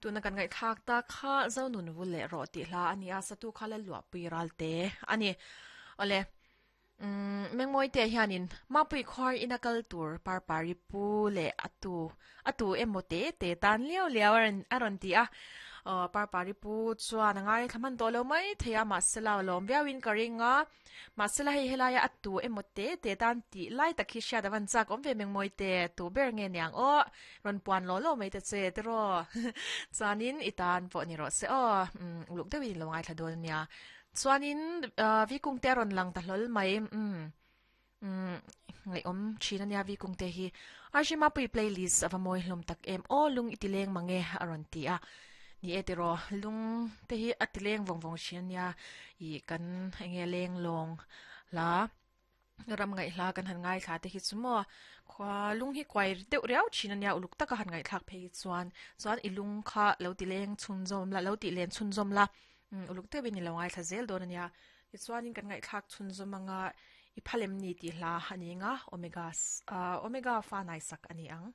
Tuna kan ngaihthlak tak kha Zonun vul leh rawh tih hla a ni a, satu kha Lalluahpui Ralte a ni. Awle, umm Mengmawite hianin Mapui khuar ina kal tur Parpari pu leh a tu a tu emaw te te tan liau liau a rawn a rawn ti a. Aw Parpari pu chuan a ngaithla hman tawh lo mai thei a, mahse la lawm viauin ka ring a. Mahsela hei helaia a tu emaw te te tan tih lai tak hi hriat a van chak awm ve mengmawi te, tu ber nge niang aw, rawn puan law law mai ta che tiraw chuanin i tan pawh ni rawh se aw, umm uluk deuhin i lo ngaithla dawn ania. Chuanin Vikung te a rawn lang ta hlawl mai, umm umm ngaihawm thin ania Vikung te hi. Arjimapui playlist a va mawi hlawm tak em aw, lung i ti leng mange a rawn ti a. Ni e tiraw, lung te hi a ti leng vawng vawng thin ania, ih kan enge leng lawng hla ram ngaih hla kan han ngaithla te hi chu maw khua lung hi kuai deuh riau thin ania uluk taka han ngaihthlak phei hi chuan chuan i lung kha lo ti leng chhunzawm la lo tih len chhunzawm la uluk deuhin i lo ngaithla zel dawn ania tichuanin kan ngaihthlak chhunzawm anga i phalem ni tih hla a ni ang a omega omega fa naisak a ni ang.